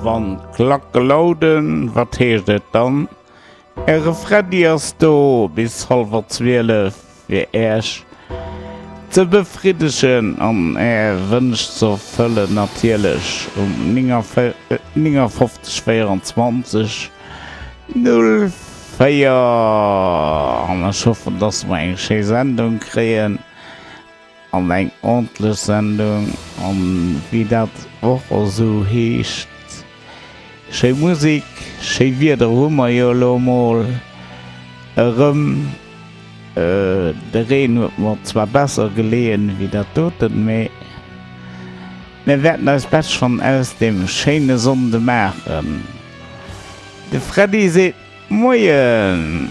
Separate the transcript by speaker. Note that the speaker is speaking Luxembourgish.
Speaker 1: Wann d'Klacke lauden, wat heescht et dann? Äre Freddy ass do bis hallwer 12 fir Äech ze befriddegen an Är Wënsch ze erfëllen, natierlech um 59 24 04. An ech hoffen, dass mer eng schéi Sendung kréien. An eng ordentlech Sendung, an wéi dat och esou heescht, schéi Musik, schéi Wieder hu mer jo elo emol erëm. De Reen huet mer zwar besser geleeën wéi dat doten, mee mir wäerten eist Bescht schonn aus deem schéine Sonnde maachen. De Freddy seet Moien!